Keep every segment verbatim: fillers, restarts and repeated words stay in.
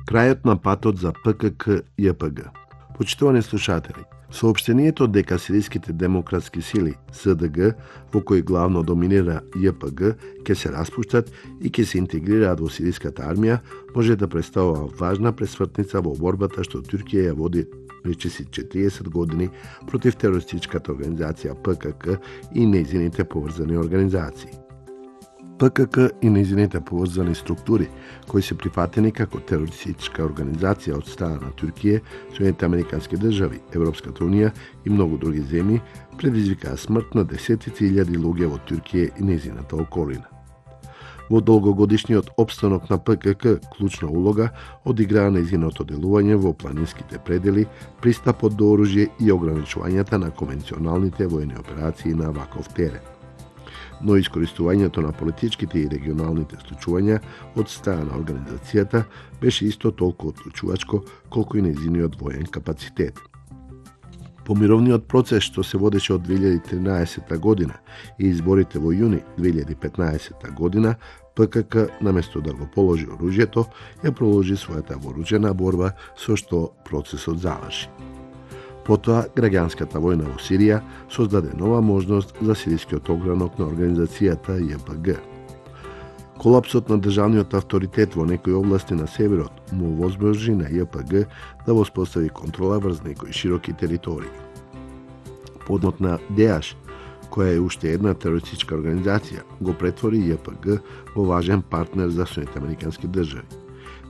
Крајот на патот за П К К Ј П Г. Почитувани слушатели, соопштението дека сириските демократски сили С Д Г, во кои главно доминира Ј П Г, ќе се распуштат и ќе се интегрираат во сириската армија, може да представува важна пресвртница во борбата што Туркија ја води речиси четириесет години против терористичката организација П К К и нејзините поврзани организации. П К К и нејзините поврзани структури, кои се прифатени како терористичка организација од страна на Туркија, Соединетите американски држави, Европската унија и многу други земји, предизвикаа смрт на десетици илјади луѓе во Туркија и нејзината околина. Во долгогодишниот опстанок на П К К клучна улога одиграа нејзиното делување во планинските предели, пристапот до оружје и ограничувањата на конвенционалните војни операции на ваков терен. Но искористувањето на политичките и регионалните случувања од страна на организацијата беше исто толку одлучувачко колку и нејзиниот воен капацитет. По мировниот процес што се водеше од две илјади и тринаесетта година и изборите во јуни две илјади и петнаесетта година, П К К, наместо да го положи оружјето, ја проложи својата вооружена борба со што процесот заврши. Потоа, граѓанската војна во Сирија создаде нова можност за сирискиот огранок на организацијата Ј П Г. Колапсот на државниот авторитет во некои области на северот му возможи на Ј П Г да воспостави контрола врз некои широки територии. Подмот на Деаш, која е уште една терористичка организација, го претвори Ј П Г во важен партнер за Соединетите американски држави.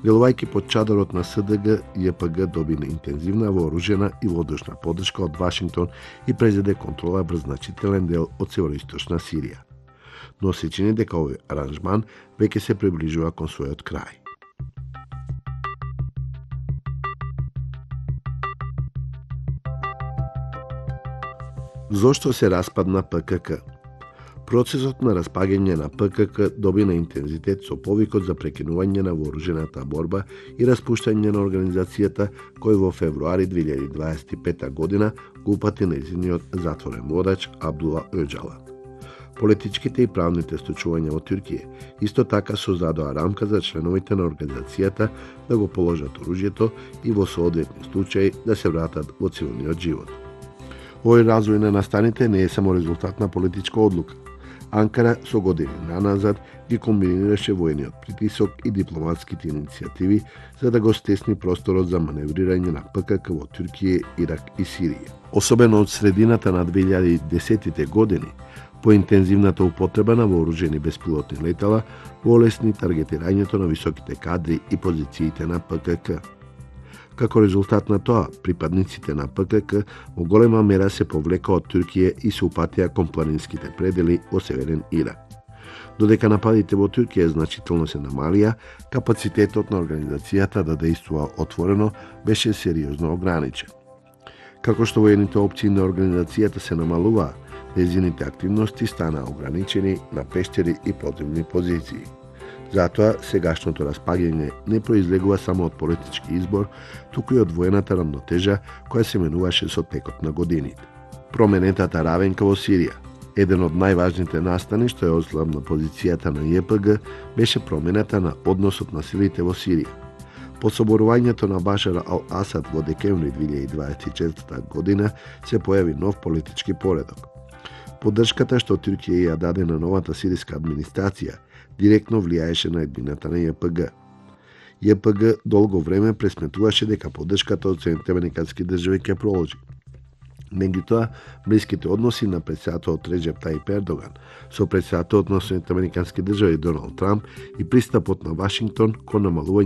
Делувајќи под чадорот на С Д Г, Ј П Г доби интензивна вооружена и воздушна поддршка од Вашингтон и презеде контрола врз значителен дел од североисточна Сирија. Но се чини дека овој аранжман веќе се приближува кон својот крај. Зошто се распадна П К К? Процесот на распаѓање на П К К доби на интензитет со повикот за прекинување на вооружената борба и распуштање на организацијата кој во февруари две илјади дваесет и петта година го упати нејзиниот затворен водач Абдула Оџала. Политичките и правните случувања во Туркија исто така создадоа рамка за членовите на организацијата да го положат оружјето и во соодветни случаи да се вратат во цивилниот живот. Овој развој на настаните не е само резултат на политичка одлука. Анкара со години наназад ги комбинираше војниот притисок и дипломатските иницијативи за да го стесни просторот за маневрирање на П К К во Туркија, Ирак и Сирија. Особено од средината на две илјади и десетте години, по интензивната употреба на вооружени беспилотни летала во олесни таргетирањето на високите кадри и позициите на П К К. Како резултат на тоа, припадниците на П К К во голема мера се повлека од Туркија и се упатија кон планинските предели во северен Ирак. Додека нападите во Туркија значително се намалија, капацитетот на организацијата да действува отворено беше сериозно ограничен. Како што воените опции на организацијата се намалуваа, нејзините активности станаа ограничени на пештери и подземни позиции. Затоа, сегашното распаѓање не произлегува само од политички избор, туку и од воената рамнотежа која се менуваше со текот на годините. Променетата равенка во Сирија. Еден од најважните настани што ја ослабна позицијата на Ј П Г беше промената на односот на силите во Сирија. По соборувањето на Башар ал-Асад во декември две илјади дваесет и четврта година се појави нов политички поредок. Поддршката што Туркија ја даде на новата сириска администрација директно влијаеше на еднината на Ј П Г. Ј П Г долго време пресметуваше дека поддршката од Соединетите американски држави ќе продолжи. Меѓутоа, блиските односи на претседателот Реџеп Тајип Ердоган со претседателот на Соединетите американски држави Доналд Трамп и пристапот на Вашингтон кон намалување